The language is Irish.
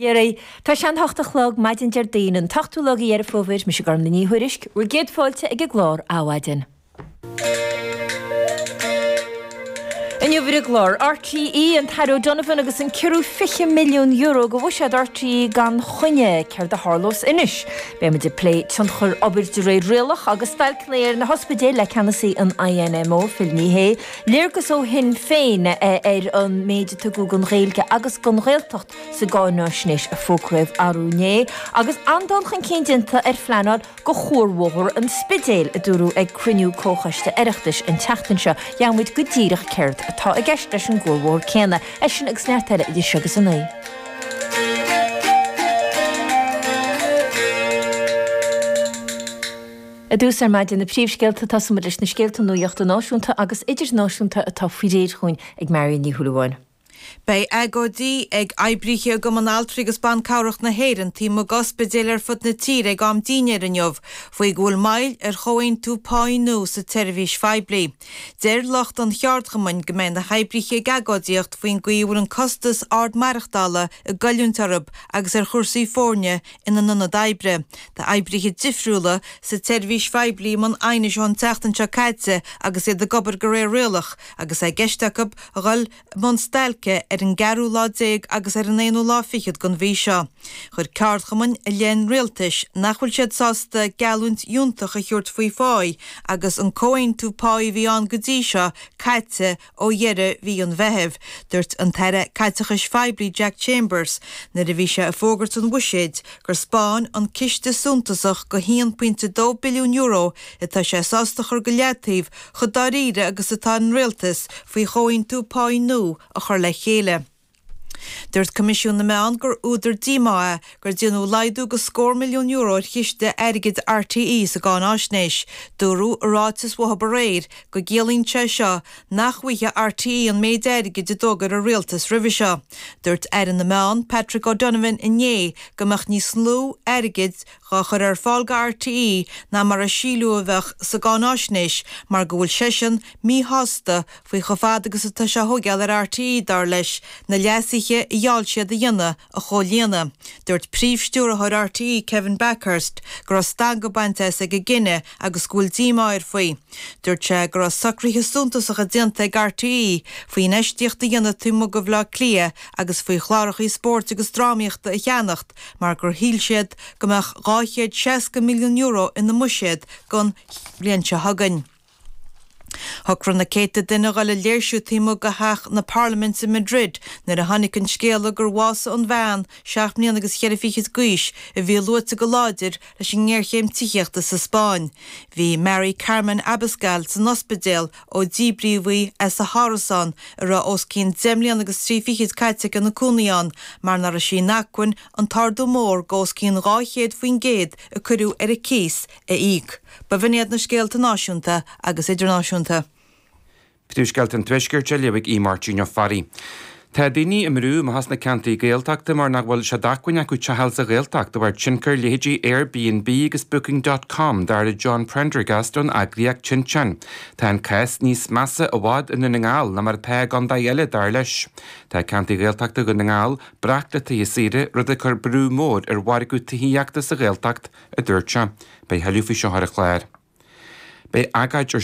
Dhera, tá sé an hocht a chlog, maidin Déardaoin, an t-ochtú lá de Dheireadh Fómhair, mise Gormlaith Ní Thuairisg, bhur gcéad fáilte ag an gclár Adhmhaidin. Inniu ar an gclár, RTÉ, an tAire O'Donovan agus an ciorrú €20 milliún go bhuiséad RTÉ gan choinne, céard a tharlós anois? Beidh muid ag plé tionchar obair de réir rialach agus stailceanna ar na hospidéil le ceannasaí an INMO, Phil Ní Sheaghdha, léargas ó Shinn Féin ar an méid a tugadh don Ghaeilge agus don Ghaeltacht sa gcáináisnéis a fógraíodh arú inné, agus an-dul chun cinn déanta ar phleanáil go Chuarbhóthar an Spidéil, a dúradh ag cruinniú Comhchoiste Oireachtais an tseachtain seo. Gheobhaidh muid go díreach céard atá i gceist leis an gcuarbhóthar céanna. É sin agus neart eile idir seo agus a 9. I dtús ar maidin na príomhscéalta, tosóidh muid leis na scéalta nuachta náisiúnta agus idirnáisiúnta atá faoi réir chugainn ag Marion Ní Shúilleabháin. Beidh agóidí ag oibrithe i gCumann Altraí agus Ban Cabhrach na hÉireann taobh amuigh d'ospidéil ar fud na tíre ag am dinnéir inniu faoi go bhfuil moill ar chomhaontú páí nua sa tseirbhís phoiblí. Deir lucht an cheardchumainn go mbeidh na hoibrithe ag agóidíocht faoin gcaoi a bhfuil an costas ard maireachtála ag goilliúint orthu agus ar chúrsaí foirne ina n-ionad oibre. Tá oibrithe difriúla sa tseirbhís phoiblí i mbun aighnis ón tseachtain seo caite agus iad ag obair de réir rialach agus é i gceist acu a dhul i mbun stailce ar an gceathrú lá déag agus ar an aonú lá fichead den mhí seo. Chuir ceardchumainn i leith an rialtais nach bhfuil siad sásta geallúint fhiúntach a thabhairt faoi pháí agus an comhaontú páí a bhí ann go dtí seo caite ó dheireadh mhí an Mheithimh. Dúirt an tAire Caiteachais Phoiblí Jack Chambers nuair a bhí sé ag fógairt an bhuiséid gur 'spáin an ciste suntasach go €1.2 billiún atá sé sásta a chur go leataobh chomh dáiríre agus atá an Rialtas faoi chomhaontú páí nua a chur le chéile. Dúirt Coimisiún na Meán gur údar díomá é gur déanadh laghdú go scór milliún euro ar chiste airgid RTÉ sa gcáináisnéis. Dúradh i ráiteas uathu aréir go gciallaíonn sé seo nach bhfaighidh RTÉ an méid airgid a d'fhógair an Rialtas roimhe seo. Dúirt Aire na Meán, Patrick O'Donovan inné go mbeadh níos lú airgid dhá chur ar fáil go RTÉ ná mar a síleadh a bheadh sa gcáináisnéis mar go bhfuil seisean míshásta faoi chomh fada agus atá sé a thóigeáil ar RTÉ, dar leis, na leasuithe a gheall siad a dhéanamh a chomhlíonadh. Dúirt Príomh-Stiúrthóir RTÉ Kevin Bakhurst go raibh stangadh bainte as ag an gcinneadh agus go bhfuil díomá air faoi. Dúirt sé go raibh socruithe suntasacha déanta ag RTÉ faoi infheistíocht a dhéanamh taobh amuigh de Bhaile Átha Cliath agus faoi chláracha spóirt agus drámaíochta a cheannacht mar gur shíl siad go mbeadh €260 milliún ina mbuiséad don bhliain seo chugainn. Shocraigh na céadta duine a dhul ag léirsiú taobh amuigh de theach na Parlaiminte i Madrid nuair a tháinig an scéala gur bhásaigh an bhean, seacht mbliana agus cheithre fichid d'aois, a bhí luaite go láidir leis an ngéarchéim tithíochta sa Spáinn. Bhí Mari Carmen Abascal san ospidéal ó díbríodh í as a hárasán a raibh os cionn deich mbliana agus trí fichid caite aici ina cónaí ann mar nach raibh sí in acmhainn an t-ardú mór go os cionn 200% a cuireadh ar a cíos a íoc. B'in iad na scéalta náisiúnta agus idirnáisiúnta. Príomhscéalta an Tuaiscirt á léamh ag Aodh Máirtín Ó Fearraigh. Tá daoine i mbrú amach as na ceantair Gaeltachta mar nach bhfuil sé d'acmhainn acu teach a fháil sa Ghaeltacht de bharr tionchar leithéidí Airbnb agus Booking dot com, dar le John Prendergast ón eagraíocht Tinteán. Tá an cás níos measa i bhfad i nDún na nGall ná mar atá i gcontae eile, dar leis. Tá ceantair Ghaeltachta Dhún na nGall breac le tithe saoire, rud ag cur brú mór ar mhargadh tithíochta sa Ghaeltacht, a dúirt sé. Beidh thuilleadh faoi seo ar an chlár. Beidh agóid ar.